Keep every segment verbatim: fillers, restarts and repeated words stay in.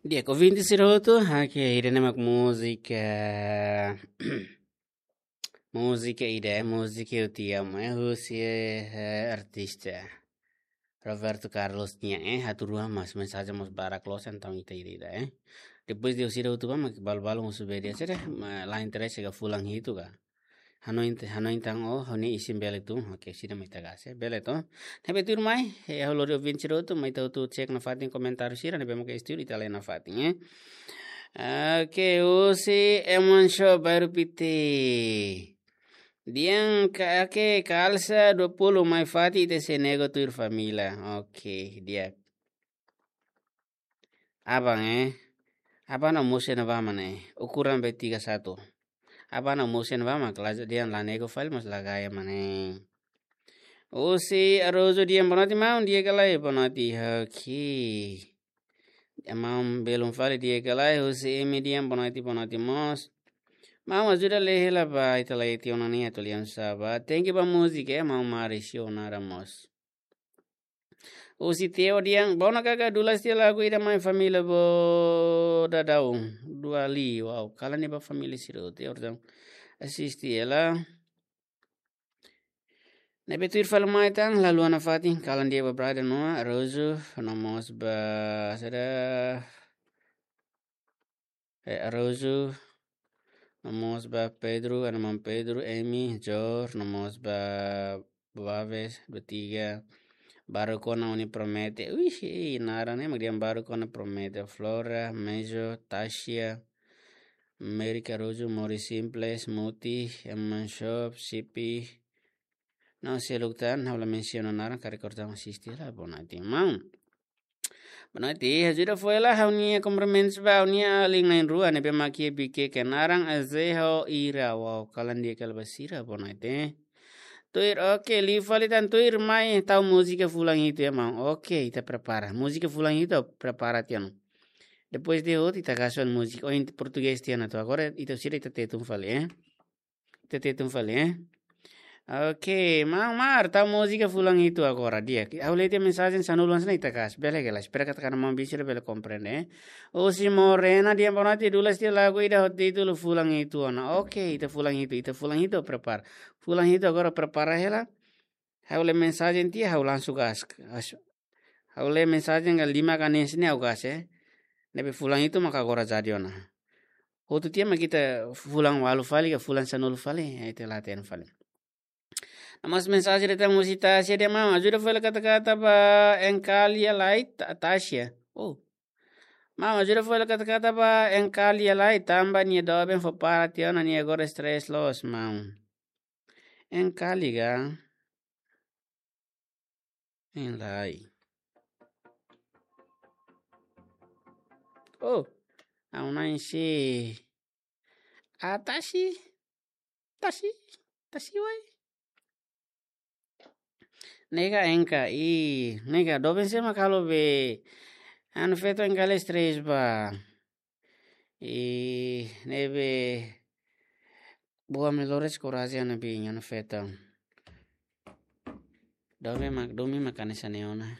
Di'ak, ouvinte sira hotu, oke, ida-ne'e mak múzika, múzika ida, múzika Eu Te Amo, eh, husi, eh, artista Roberto Carlos nian, eh, hatudu an, mas mensajen mós barak loos, entaun ita ida-idak, eh. Depois de ouvir sira hotu ba, mak balu-balu mós bele, sira, ma, la interesa ka fulan hitu ka. Hanoin te-, hanoin tan o, hanoin isin bele tun, oke, sira mai tagase, bele to. Ne'ebé tuirmai, eh, halo ouvinte sira hotu, mai ita hotu cek nafatin komentáriu sira, ne'ebé mak estudu ita lee nafatin, eh. Oke, husi Eman Shop Bairru Piti. Di'ak, ka-, oke, kalsa dua puluh mai fatin ita sei nego tuir família. Oke, di'ak. Aban, eh. Aban ha'u mosu iha ne'ebá mak ne'e. Ukuran be tiga satu. Aban ha'u mosu iha ne'ebá mak la, dehan la nego fali mós la gaya mak ne'e. Husi Arozu di'ak, boa noite maun, di'ak ka lae, boa noite, oke. Maun belun fali, di'ak ka lae, husi Emi di'ak, boa noite, boa noite mós. Maun ajuda lee hela ba, ita lee tiha ona ne'e atu lian saba. Thank you ba múzika, eh, maun Mauricio Nara mós. Husi Teo di'ak, bom na kaka dulas tiha lagu ida mai família bo dadau. Dua li, wow, kalan ne'e ba família sira, Teo di'ak. Asiste ela. Ne'ebé tuir fali mai tan, la luan nafatin, kalan di'ak ba brother Noah, Arozu, no mós ba, sira, eh, Arozu, no mós ba Pedro, Ana Maun Pedro, Emi, Jor, no mós ba Baves, Batiga, Baru Kona Uni Promete, wih, ih, naran ne'e mak di'ak, Baru Kona Promete, Flora, Mejo, Tasia, Mary Caruso, Mori Simples, Muti, Eman Shop, Sipi, no seluk tan, ha'u la mensiona naran, ka rekor tan asiste la, boa noite maun. Boa noite, ajuda fó hela ha'u-nia kumprimentus ba ha'u-nia alin na'in-rua ne'ebé mak iha Bikeke, naran Azeho Ira, wow, kalan di'ak kala ba sira, boa noite. Tuir, oke, liu fali tan tuir mai tau múzika fulan hitu ya maun. Oke, ita prepara. Múzika fulan hitu prepara tiha ona. Depois de hotu ita gasu múzika. Oh, em português tiha ona to. Agora ita sira ita Tetun fali, eh. Ita Tetun fali, eh. Oke, maun Mar, tau múzika fulan hitu agora, di'ak. Ha'u lee tiha mensajen sanulu hanesan ne'e ita gasu. Bele ka lae, espera katak maun Bisir bele komprende, eh. Husi Morena di'ak, boa noite, dulas tiha lagu ida ho títulu fulan hitu ona. Oke, ita fulan hitu, ita fulan hitu prepara. Fulan hitu agora prepara hela. Ha'u lee mensajen tiha, ha'u langsung gasu. As-, ha'u lee mensajen ka lima ka hanesan ne'e ha'u gasu, eh. Ne'ebé fulan hitu maka agora jadi ona. Hotu tiha mak ita fulan ualu fali ka fulan sanulu fali, eh, ita latihan fali. No mós mensajen datang husi Tasia di'ak, maun ajuda fó hela kata-kata ba Enkalia Lai, Ta-, Tasia. Oh. Maun ajuda fó hela kata-kata ba Enkalia Lai, tanba nia doben fó para tiha ona, nia agora stress loos, maun. Enkali ka? Enlai. Oh, ha'u-nia na'in sei. Ah, Tasi. Tasi. Tasi wai. Ne'e ka Enka, i, ne'e ka doben sé mak halo be. Anu feto Enkali stress ba. I, ne'ebé buat melhores korajen na bi nia feto. Domin mak, domin mak hanesan ne'e ona.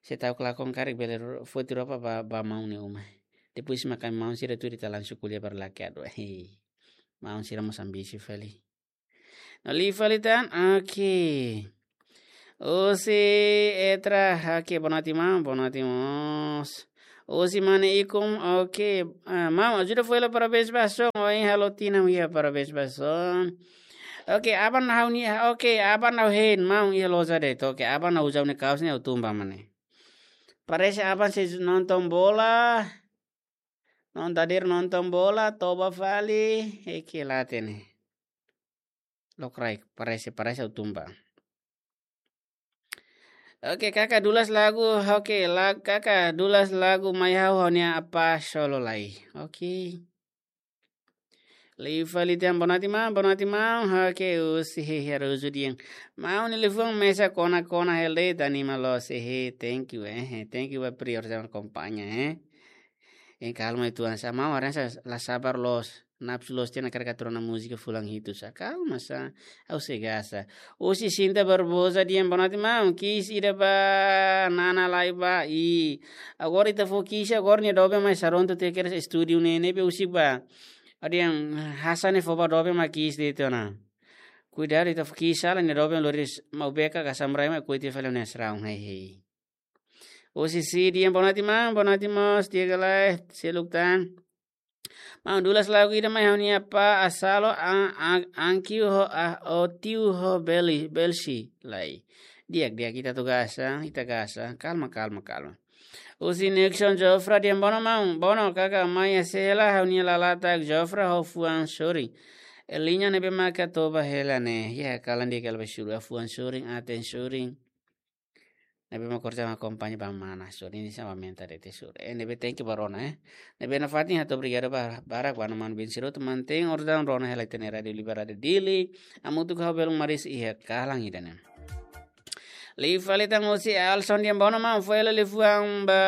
Se tau kelakon karik bele ro-, foti roupa ba, ba maun nia uma. Depois mak maun sira tuir ita langsung ko'alia barak liu adu. Hei. Maun sira mós ambisi fali. No liu fali tan, oke. Husi Etra, oke, boa noite maun, boa noite mós. Husi Mane Ikum, oke. Ah, maun, ajuda fó hela parabéns ba son, ohin halo tinan iha parabéns ba son. Oke, aban ha'u-nia, oke, aban ha'u hein, maun iha loja de'it, oke, aban ha'u uza ha'u-nia kaos ne'e ha'u tun ba mane. Parese aban sei nonton bola. Nonton hadir nonton bola, toba fali, eke late ne'e. Lokraik, parese, parese ha'u tun ba. Oke, kaka dulas lagu, oke, la-, kaka dulas lagu mai ha'u ha'u-nia apa solo lai. Oke. Liu fali tan boa noite maun, boa noite maun, oke, husi Hehe Aruzu dehan. Maun nia liafuan mesak kona-kona hela de'it, anima loos, hehe, thank you, eh, thank you ba prior sama akompaña, eh. Em calma e tuan sa, maun hanesan la sabar loos. Napsu loos tiha ona hakarak atu rona múzika fulan hitu sá. Kalma sá, ha'u sei gasta. Husi Sinta Barbosa dehan boa noite maun. Kiss ida ba Nana Laiba i. Agora ita fó kiss, agora nia doben mai sarontu te keres estúdiu ne'e ne'ebé husik ba. Ha'u dehan hanesan ne'e fó ba doben mai kiss de'it ona. Kuidadu ita fó kiss sala nia doben lori maubeka ka samrai mai kuiti fali ne'e sraun hei hei. Husi Si dehan boa noite maun, boa noite mós, di'ak ka lae, seluk tan. Maun, dulas lagu ida mai ha'u-nia apá Asalo, a, a, Ankiu ho, a, Otiu ho Beli, Belsi, lai. Di'ak, di'ak, ita atu gasta, ita gasta. Kalma, kalma, kalma. Husi Nixon Jofra dehan bono maun, bono kaka mai hela ha'u-nia lalatak Jofra ho fuan sorin. Eliña ne'ebé maka toba hela ne'e. Ya, kalan dia kalba suru, a fuan sorin, aten sorin. Ne'ebé mak korja mak akompaña ba mana, sorin, ini sama menta de te suru. Eh, ne'ebé thank you ba rona, eh. Ne'ebé nafatin hato'o obrigadu ba, barak ba maun Bin Siroto mantein ordaun rona hela ita-nia Rádiu Liberdade Dili. Hamutuk ho belun maris iha kalan ida-ne'e. Liu fali tan husi Alson dehan bono maun, fó hela liafuan ba,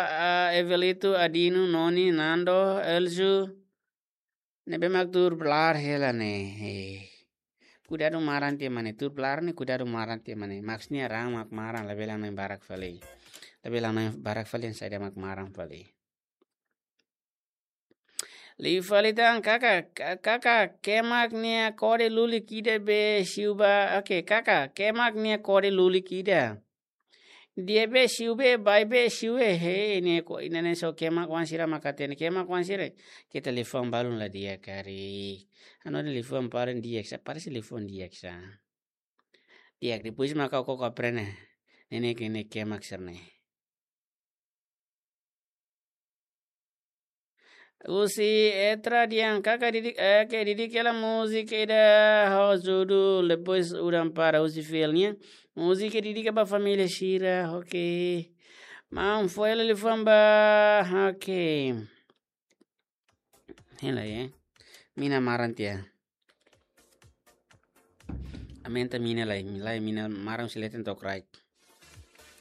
ah, Evelito, Adino, Noni, Nando, Elzu. Ne'ebé mak tuur blar hela ne'e. Eh. Kuidadu maran tiha mak ne'e, tuur blar ne'e kuidadu maran tiha mak ne'e. Maksudnya raan mak maran, labele hanoin barak fali. Labele hanoin barak fali, yang saida mak maran fali. Liu fali tan kaka, ka-, kaka, kemak nia kode lulik ida be siu ba, oke, kaka, kemak nia kode lulik ida. Di'ak be siu be, baik be siu be, he, ne'e ko, ida-ne'e só kemak oan sira mak hatene, kemak oan sira. Keta liafuan balun la di'ak karik. Anu liafuan paling di'ak sá, parese liafuan di'ak sá. Di'ak, depois maka koko aprende. Ne'e ne'e ke ne'e kemak sira-ne'e. Husi Etra dehan kaka didik, eh, ke didik hela múzika ida ho judul, depois udan para husi filnya. Múzika didik ba família sira, oke. Maun, fó hela liafuan ba, oke. Hela ya. Mina maran tiha. Aumenta mina lai, lai mina maran husi leten to'o kraik.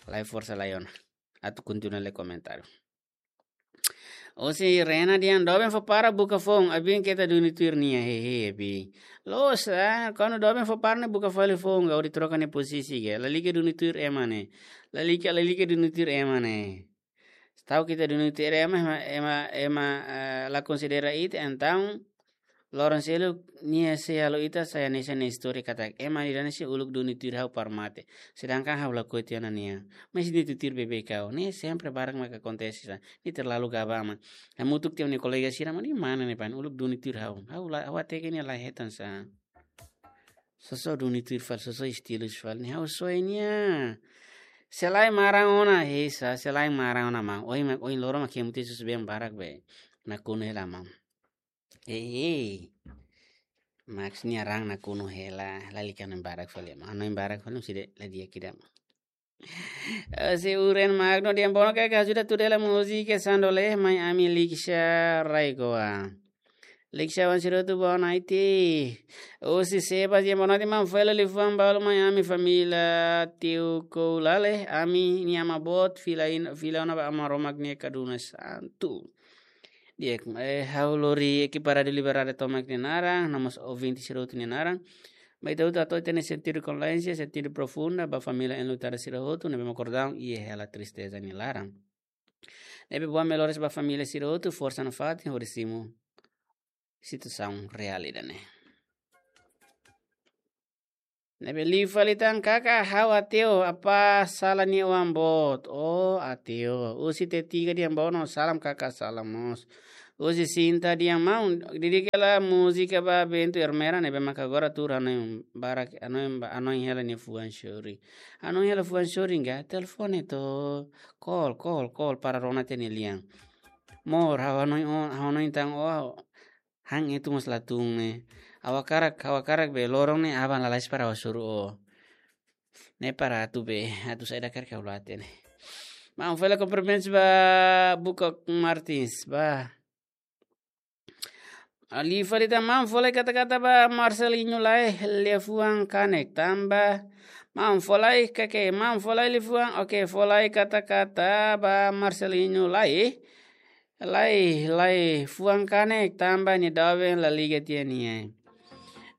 Lai forsa lai ona. Atu kontinua lee komentáriu. Husi Rena dehan doben fó para buka foun, abin keta duni tuir nia, hehe, abin. Loos, ah, kuandu doben fó para ne'e buka fali foun, ka hodi troka nia pozisi ka. Lalika duni tuir ema ne'e. Lalika, lalika duni tuir ema ne'e. Tau keta duni tuir ema, ema, ema, ema, eh, la konsidera ita, entaun loron seluk nia sei halo ita sai hanesan nia istória katak ema ida-ne'e sei uluk duni tuir ha'u para mate. Sedangkan ha'u lakohi tiha ona nia. Mas nia tuir beibeik ha'u. Ne'e sempre barak mak akontese sá. Nia terlalu gaba mak. Hamutuk tiha nia kolega sira mak nia mana ne'e pan uluk duni tuir ha'u. Ha'u la, ha'u hateke nia la hetan sá. Sosok duni tuir fali, sosok estilu fali. Ne'e ha'u soe nia. Sei la maran ona, he sá, sei la maran ona maun. Ohin mak, ohin loron mak kemu te sus ben barak be. Nakonu hela maun. Eh, eh. Maksudnya raan nakonu hela, lalika hanoin barak fali. Hanoin barak fali, side la di'ak ida. Eh, husi Uren Magno dehan bono kaka ajuda tuur hela múzika Sandole mai ami Liksha Raigoa. Liksha wan sirotu boa noite. Husi Sebas dehan boa noite maun, fó hela liafuan balu mai ami família Teuco Lale, ami-nia ama boot fila in-, fila ona ba Aman Romak nia kaduna santu. Di'ak, eh, ha'u lori ekipa Rádiu Liberdade tomak nia naran, no mós ouvinte sira hotu nia naran. Ba ita hotu atu hatene sentidu kondolénsia, sentidu profunda ba família enlutada sira hotu ne'ebé mak kordaun iha hela tristeza nia laran. Ne'ebé boas melhoras ba família sira hotu, forsa nafatin hodi simu situasaun reál ida-ne'e. Ne'ebé liu fali tan kaka ha'u Ateo, apá Sala nia oan boot. Oh, Ateo. Husi Tetiga dehan bono, salam kaka, salam mós. Husi Sinta dehan maun, didik hela múzika ba Bento Ermera, ne'ebé maka agora tuur hanoin barak, hanoin ba, hanoin hela nia fuan sorin. Hanoin hela fuan sorin ka, telefone to'o, call, call, call, para rona tiha nia lian. Amor, ha'u hanoin o, ha'u hanoin tan o, han etu mós la tun ne'e. Ha'u hakarak, ha'u hakarak be loron ne'e aban lalais para ha'u hasoru o. Ne'e para atu be, atu saida karik ha'u la hatene. Maun, fó hela kumprimentus ba Buka Martins, ba. Liu fali tan maun, fó lai kata-kata ba Marcelinho Lae, liafuan kanek tanba. Maun, fó lai kake, maun, fó lai liafuan, oke, fó lai kata-kata ba Marcelinho Lae. Lai, lai, fuan kanek tanba nia doben la liga tiha nia.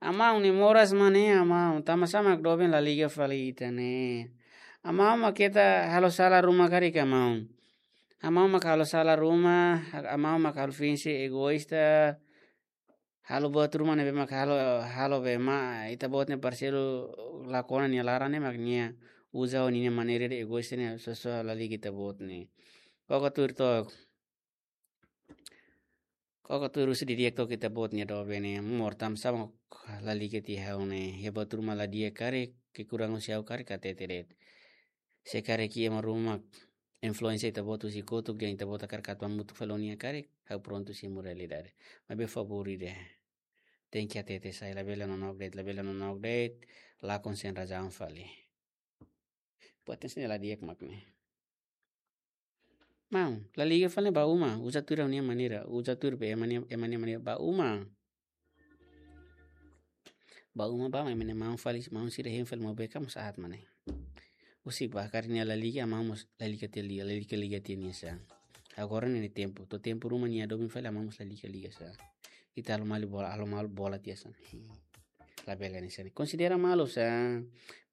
Amaun, nia moras mak ne'e, amaun, tanba sá mak doben la liga fali ita ne'e. Amaun mak keta halo sala ruma karik, amaun. Amaun mak halo sala ruma, amaun mak halo finse egoísta, halo buat ruma ne'ebé mak halo, halo be mak ita-boot nia parseiru lakon nia laran ne'e mak nia uza ho nia maneira de egoísta ne'e sosa la liga ita-boot ne'e. Koko tuir took. Koko tuir husi didi'ak took ita-boot nia doben ne'e, amor, tanba sá mak la liga tiha ha'u ne'e. Iha buat ruma la di'ak karik, kekurangan husi ha'u karik hatete de'it. Se karik iha ema ruma influénsia ita-boot husi kotuk, dehan ita-boot hakarak atu hamutuk fali ho nia karik, ha'u prontu simu realidade. Maibé favór ida. Tenke hatete sai, labele nonook de'it, labele nonook de'it, lakon sein razaun fali. Potensi ne'e la di'ak mak ne'e. Maun, la liga fali ba uma, uza tuir ha'u-nia maneira, uza tuir be ema nia, ema nia maneira ba uma. Ba uma ba, ema nia maun fali, maun sira hein fali maubé ka mós aat mak ne'e. Husik ba karik nia la liga, amaun mós la liga tiha liga, la liga liga tiha nia sá. Agora ne'e nia tempu, to'o tempu ruma nia doben fali, amaun mós la liga liga sá. Ita halo malu bola, halo malu bola tiha sá. Labele hanesan ne'e. Konsidera malu sá.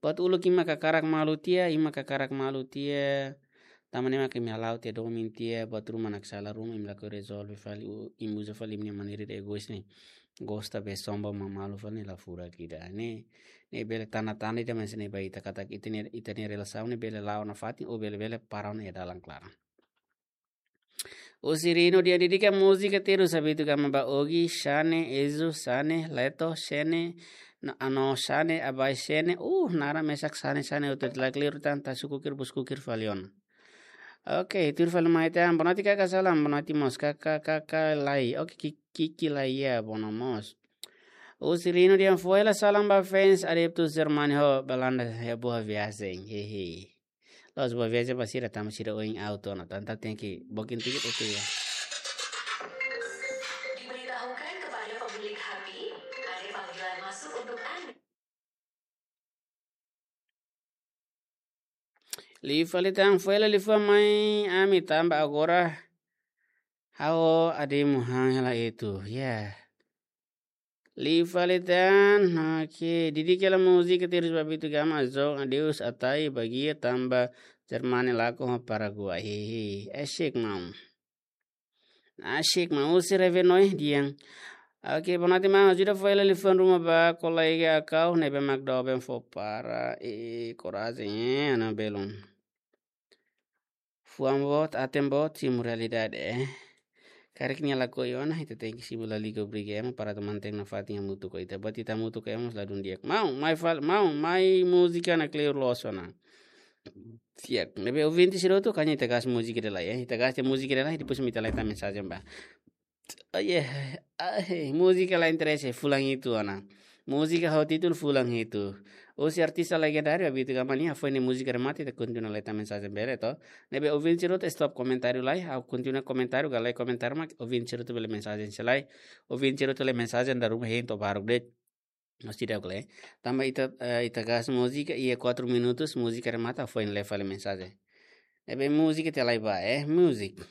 Buat uluk imi mak hakarak malu tiha, imi mak hakarak malu tiha. Tanba ne'e mak imi hala'o tiha domin tiha, buat ruma naksalah ruma imi lakohi rezolve fali, u-, imi uza fali imi-nia maneira de egoísta ne'e. Gosta be somba mak malu fali ne'e la furak ida. Ne'e, ne'e bele tanda-tanda ida hanesan ne'e ba ita katak ita-nia, ita-nia relasaun ne'e bele la'o nafatin ou bele, bele para ona iha dalan klaran. Husi Rino dehan dedika múzika terus habitu gama ba Ogi, Xane, Ezu, Xane, Leto, Xene, no, ano Xane, abai Xene, uh, naran mesak Xane, Xane, utot la clear tan, ta sukukir, buskukir fali ona. Oke, tuir fali mai tan, boa noite kaka salam, boa noite mós kaka, kaka lai, oke, ki-, kiki lai ya, bono mós. Husi Rino dehan foin hela salam ba fans, adeptus Germany ho, Belanda, ya boa viagem, hehe. Loos, boa viagem ba sira, tanba sira oin auto ona, tanba tenke booking tiket, oke ya. Diberitahukan kepada pemilik Happy, ada panggilan masuk untuk Anda. Liu fali tan, foin hela liafuan mai ami tanba agora ha'u Ademu han hela itu, ya. Liu fali tan, oke, dedika hela múzika terus ba Bitu Gama, Azok, Adeus, Atai, Bagia, tanba Jermani lakon ho Paraguai. Hehe, asik maun. Asik maun, husi Revenoi dehan. Oke, boa noite maun, ajuda foin hela liafuan ruma ba kolega Akau, ne'ebé mak doben fó para, e, korajen, e, ana belun. Fuan boot, aten boot, simu realidade, eh. Karik nia lakohi ona, ita tenke simu la liga obriga ema para atu mantein nafatin hamutuk ho ita. Buat ita hamutuk ho ema mós ladún di'ak. Maun, mai fal-, maun, mai múzika ne'e kleur loos ona. Siap. Ne'ebé ouvinte sira hotu, kanya ita gas múzika ida lai, eh. Ita gas múzika ida lai, depois ita lai tama mensajen ba. Ai, eh, ai, múzika la interese, fulan hitu ona. Múzika ho títulu fulan hitu. Husi artista legendáriu, Abito Gamania, foin ne'e múzika remata, ita kontinua lai tama mensajen bele, to. Ne'ebé ouvinte sira hotu stop komentáriu lai, ha'u kontinua komentáriu, ka lae komentáriu mak, ouvinte sira hotu bele mensajen sei lai. Ouvinte sira hotu lee mensajen dala ruma hein to'o baruk de'it. Nos tidak le. Tanba ita, eh, ita gas múzika, iha kuatru minutus, múzika remata, foin lee fali mensajen. Ne'ebé múzika ita lai ba, eh, múzika.